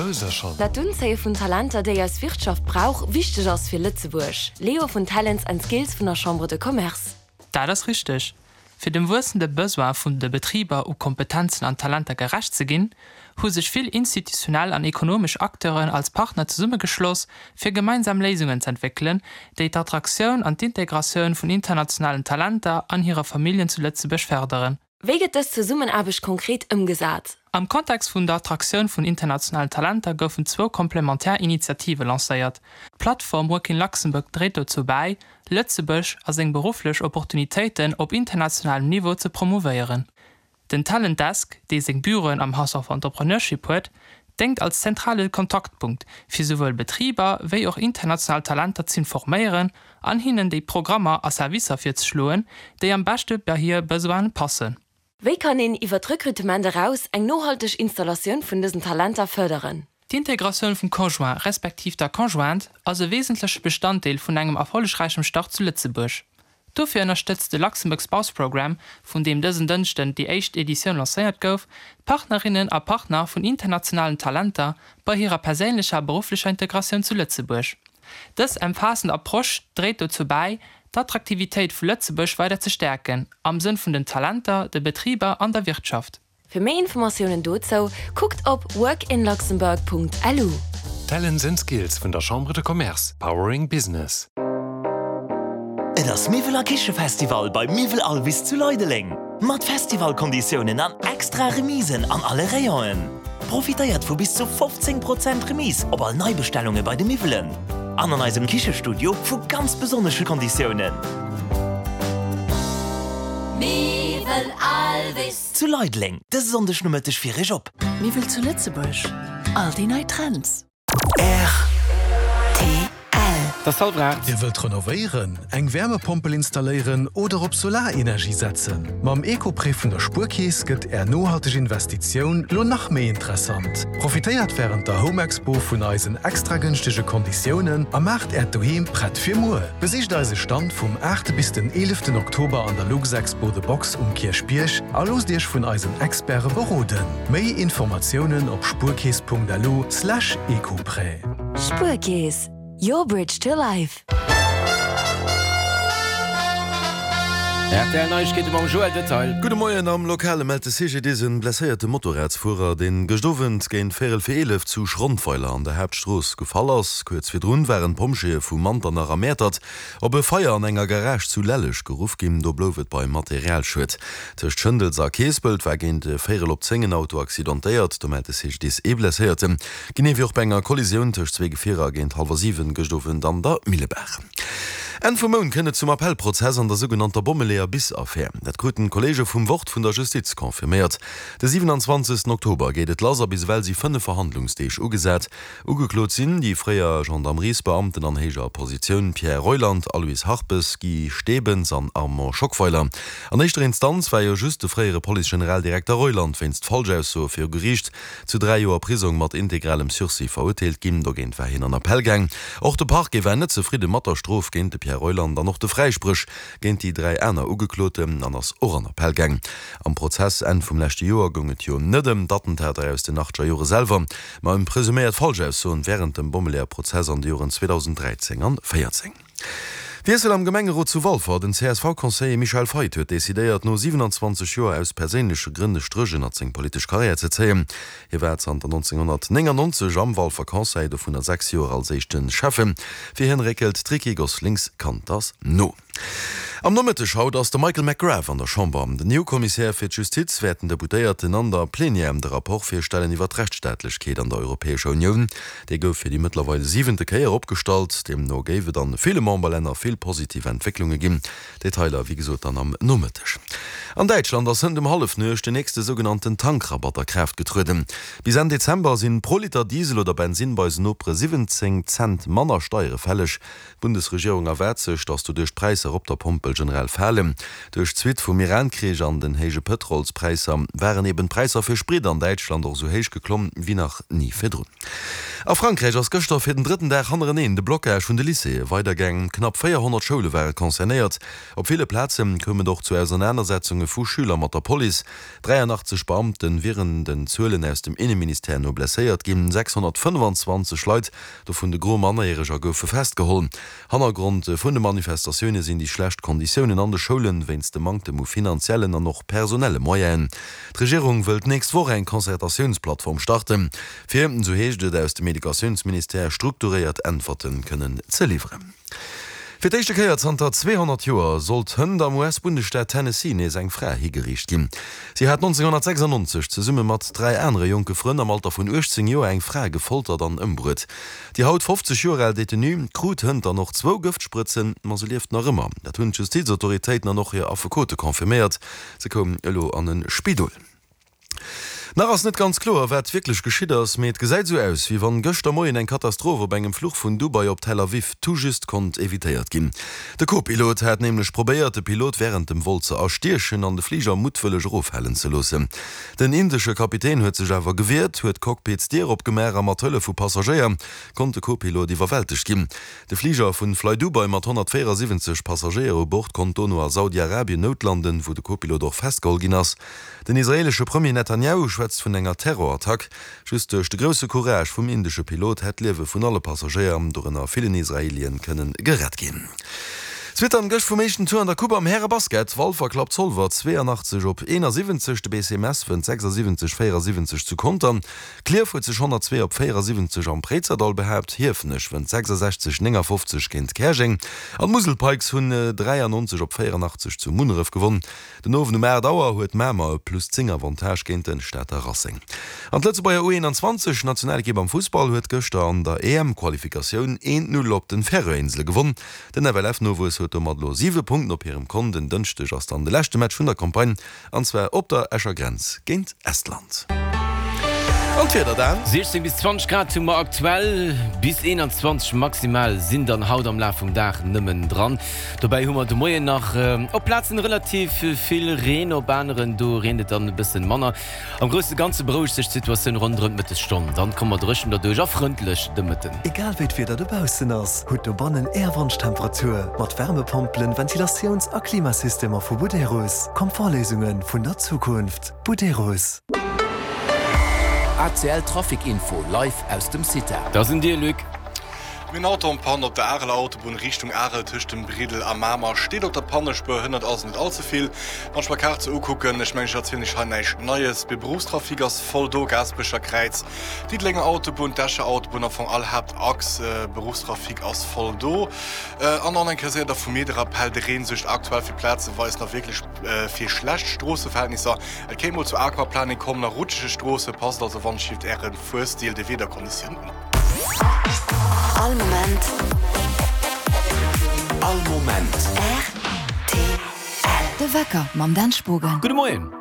Hauser schonn. Dat d'Unzéie vun Talenter, déi eis Wirtschaft brauch, wichteg ass fir Lëtzebuerg. Leo vun Talents and Skills vun der Chambre de Commerce. Dat ass richteg. Fir dem wuessende Besoin vun de Betriber u Kompetenzen an Talenter gerecht ze ginn, hu sech vill institutionell an ekonomesch Acteuren als Partner zesummegeschloss, fir gemeinsam Léisungen z'entwéckelen, déi d'Attraktioun an d'Integratioun vun internationalen Talenter an hire Familljen zu Lëtzebuerg fërderen. Wéi gëtt dës Zesummenaarbecht konkret ëmgesat? Am Kontext vun der Attraktioun vun internationalen Talenter goufen zwou komplementär Initiative lancéiert. D'Plattform Work in Luxembourg dréit dozou bäi, Lëtzebuerg a seng berufflech Opportunitéiten op internationalem Niveau ze promouvéieren. Den Talent Desk, dee seng Büroen am House of Entrepreneurship huet, déngt als zentrale Kontaktpunkt, fir souwuel Betriber wéi och international Talenter z'informéieren an hinnen déi Programmer a Servicer virzeschloen, déi am beschte bei hir Besoine passen. Wéi kann een iwwer d'Rekrutement eraus eng nohalteg Installatioun vun dësen Talenter fërderen? D'Integratioun vum Conjoint respektiv der Conjointe ass e wesentleche Bestanddeel vun engem erfollegräichem Start zu Lëtzebuerg. Dofir ënnerstëtzt de Luxembourg Spouse Programme, vun deem dësen Dënschden déi éischt Editioun lancéiert gouf, d'Partnerinnen a Partner vun internationalen Talenter bei hirer perséinlecher a berufflecher Integratioun zu Lëtzebuerg. Dës emfaassend Approche dréit dozou bäi, d'Attraktivitéit vu Lëtzebuerg weider ze stäerken, am Sënn vun den Talenter, de Betriber an der Wirtschaft. Fir méi Informatiounen dozou kuckt op workinluxembourg.lu. Talents and Skills vun der Chambre de Commerce, powering business. Et ass Miwwel a Kichefestival bei Miwwel Alvis zu Leideleng! Mat Festivalkonditiounen an extra Remisen an alle Rayonen. Profitéiert vu bis zu 15 Prozent Remise op all Neibestellunge bei de Miwwelen an an eisem Kichestudio vu ganz besonnesche Konditiounen. Miwwel Alvis. Zu Leideleng, dëse Sonndeg Nomëtteg fir Iech op. Miwwel zu Lëtzebuerg, all déi nei Trends. Rtl. Et ass hallwer 8. Dir wëllt renovéieren, eng Wärmepompel installéieren oder op Solarenergie setzen? Mam Eco-Prêt vun der Spuerkeess gëtt Är nohalteg Investitioun lo nach méi interessant. Profitéiert wärend der Home Expo vun eisen extra gënschtege Konditiounen a maacht Äert Doheem prett fir muer. Besicht eise Stand vum 8 bis den 11 Oktober an der Luxexpo The Box um Kierchbierg a loosst Iech vun eisen Experte beroden. Méi Informatiounen op spuerkeess.lu slash ecoprêt. Spuerkeess, your bridge to life. Rtl Neiegkeete mam Joël Detail. Gudde Moien, Am Lokale mellt de CGDIS en blesséierte Motorradsfuerer, deen gëscht Owend géint véierel fir 11 zu Schrondweiler an der Haaptstrooss gefall ass. Kuerz virdrun waren d'Pompjeeë vu Manternach a Mäertert op e Feier an enger Garage zu Lelleg geruff ginn. Do blouf et beim Materialschued. Tëscht Schëndels a Keespelt war géint véierel op 10 en Auto accidentéiert. Do mellt de CGDIS ee Blesséierten. Genee wéi och bei enger Kollisioun tëscht zwee Gefierer géint hallwer 7 gëscht Owend an der Millebaach. Enn vum Mount kënnt et zum Appellprozess an der sougenannter Bommeleeër-bis-Affär. Dat kruten d'Kolleege vum Wort vun der Justiz confirméiert. De 27 Oktober geet et lass a bis ewell si 5 Verhandlungsdeeg ugesat. Ugeklot sinn déi fréier Gendarmeriesbeamten an héijer Positioun Pierre Reuland, Aloyse Harpes, Guy Stebens an Armand Schockweiler. An éischter Instanz war jo just de fréiere Police-Generaldirekter Reuland wéinst Falschaussoe viru Geriicht zu 3 Joer Prisong mat integralem Sursis verurteelt ginn. Dogéint war hien an Appell gaang. Och de Parquet war net zefridde mat der Strof géint de Pierre Reuland an och de Fräispréch géint déi 3 aner Ugekloten an ass och an Appell gaang. Am Prozess Enn vum leschte Joer goung et jo net ëm d'Attentater aus den achtger Jore selwer, ma ëm presuméiert Falschaussoen wärend dem Bommeleeër-Prozess an de Joren 2013 an 14. Wiessel am Gemengerot zu Walfer, Den CSV-Conseiller Michel Feith huet decidéiert, no 27 Joer aus perséinleche Grënn e Stréch ënnert seng politesch Karriär ze zéien. Hie war zanter 1999 am Walfer Conseil, dovunner 6 Joer als éischte Schäffen. Fir hien réckelt d'Ricky Gosselings-Kanters no. Am Nomëtteg haut ass de Michael McGrath an der Chamber. Den EU-Kommissär fir d'Justiz wäert den Deputéierten an der Plenière de Rapport virstellen iwwer d'Rechtsstaatlechkeet an der Europäescher Unioun. Dee gouf fir déi mëttlerweil siwente Kéier opgestallt. Deemno géif et an ville Memberlänner vill positiv Entwécklunge ginn. Detailer wéi gesot dann am Nomëtteg. An Däitschland ass hënt um Hallefnuecht den nächste sougenannten Tankrabatt a Kraaft getrueden. Bis Enn Dezember sinn pro Liter Diesel oder Bensinn bei eisen Nopere 17 Cent manner Steiere fälleg. D'Bundesregierung erwaart sech, datt doduerch d'Präisser op der Pompel generell falen. Duerch d'Suite vum Iran-Krich an den héije Pëtrolspräisser waren eben d'Präisser fir Sprit an Däitschland och esou héich geklomm wéi nach ni virdrun. A Frankräich ass gëschter fir den drëtten Dag hannereneen de Blockage vun de Lycéeë weidergaang. Knapp 400 Schoule ware concernéiert. Op ville Plaze koum et och zu Ausernanersetzunge vu Schüler mat der Police. 83 Beamte wieren den Zuelen aus dem Inneministère no blesséiert ginn. 625 Leit, dovun de Gros Mannerjäreger, goufe festgeholl. Hannergrond vun de Manifestatioune sinn déi schlecht Konditiounen an de Schoulen, wéinst dem Manktem u finanziellen an och personelle Moyenen. D'Regierung wëll d'nächst Woch eng Concertatiounsplattform starten, fir, esou heescht et aus dem Educatiounsministère, strukturéiert Äntwerte kënnen ze liwweren. Fir d'éischte Kéier zanter 200 Joer sollt hënt am US-Bundesstaat Tennessee nees eng Fra higeriicht ginn. Si hat 1996 zesumme mat 3 anere jonke Frënn am Alter vun 18 Joer eng Fra gefoltert an ëmbruet. Déi haut 50 Joer al Detenue krut hënt dann och zwou Gëftsprëtzen, ma se lieft nach ëmmer. Dat hunn d'Justizautoritéiten an och hir Affekote confirméiert. Se koum elo an e Spidol. Nach ass net ganz kloer, wat wierklech geschitt ass, mee et gesäit esou aus, wéi wann gëschter Moien eng Katastroph op engem Fluch vun Dubai op Tel Aviv tout juste konnt evitéiert ginn. De Co-Pilot hat nämlech probéiert, de Pilot wärend dem Vol ze erstiechen an de Fliger muttwëlleg eroffalen ze loossen. Den indesche Kapitän huet sech awer gewiert, huet d'Cockpitsdier opgemaach a mat Hëllef vu Passagéier konnt de Co-Pilot iwwerwältegt ginn. De Fliger vun Flydubai mat 174 Passagéier u Bord konnt dono a Saudi-Arabien noutlanden, wou de Co-Pilot och festgeholl ginn ass. Den israeelesche Premier Netanjahu schwätzt vun enger Terrorattack. Just duerch de grousse Courage vum indesche Pilot hätt d'Liewe vun alle Passagéier, dorënner villen Israeelien, kënnen gerett ginn. D'Zwittern gëscht vum éischten Tour an der Coupe am Härebasket. Walfer klappt Zolwer 82 op 71, de BC Mess wënnt 76 74 zu Contern. Klierf huet sech 102 op 74 am Préizerdall behaapt, Hiefenech wënnt 66, 59 géint Käerjeng an d'Musel Pikes hunn 93 op 84 zu Munneref gewonn. Den Owend um 8 Auer huet Mamer e plus 10 Avantage géint de Stater Racing. An d'Lëtzebuerger U21 Nationalekipp am Fussball huet gëschter an der EM-Qualifikatioun 1, 0 op den Färöerinsele gewonn. Den FLF-Nowuess huet domat elo 7 Punkten op hirem Kont. En Dënschdeg ass dann de leschte Match vun der Campagne An zwar op der Escher Grenz géint Estland. An d'Wieder dann? 16 bis 20 Grad hu mer aktuell, bis 21 maximal sinn dann haut am Laf vum Dag nëmmen dran. Dobäi hu mer de Moien nach op Plazen relativ vill Reen, op aneren do reent et dann e bëssen manner. Am grousse Ganze berouegt sech d'Situatioun ronderëm d'Mëttesstonn, dann komme mer dréchen derduerch a frëndlech de Mëtten. Egal wéi d'Wieder dobaussen ass, hutt dobannen Är Wonschtemperatur mat Wärmepompelen, Ventilatiouns a Klimasystemer vu Buderus. Komfortléisunge vun der Zukunft. Buderus. ACL Trafic Info live aus dem CITA. Da sinn dir, Luc. Mir hunn Auto en Panne op der Areler Autobunn Richtung Arel tëscht dem Briddel a Mamer. Steet op der Pannespuer, hënnert also net all ze vill. Wann ech mer Kaart sou ukucken, ech mengen ech erzielen iech hei näischt Neies, de Beruffstrafic ass voll do, Gaasperecher Kräiz, Diddelenger Autobunn, d'Escher Autobunn, am Fong all Haaptachs, Beruffstrafic ass voll do. An och eng Kéier séier da vu mir de Rappell, De Reen suergt aktuell fir plazeweis nach wierklech fir schlecht Stroosseverhältnisser. Et kéint mol zu Aquaplaning kommen a rutschege Stroosse. Passt also wannschillt Äre Fuerstil de Wiederkonditiounen un. All Moment. All Moment. Rtl. De Wecker mam Dan Spogen. Gudde Moien.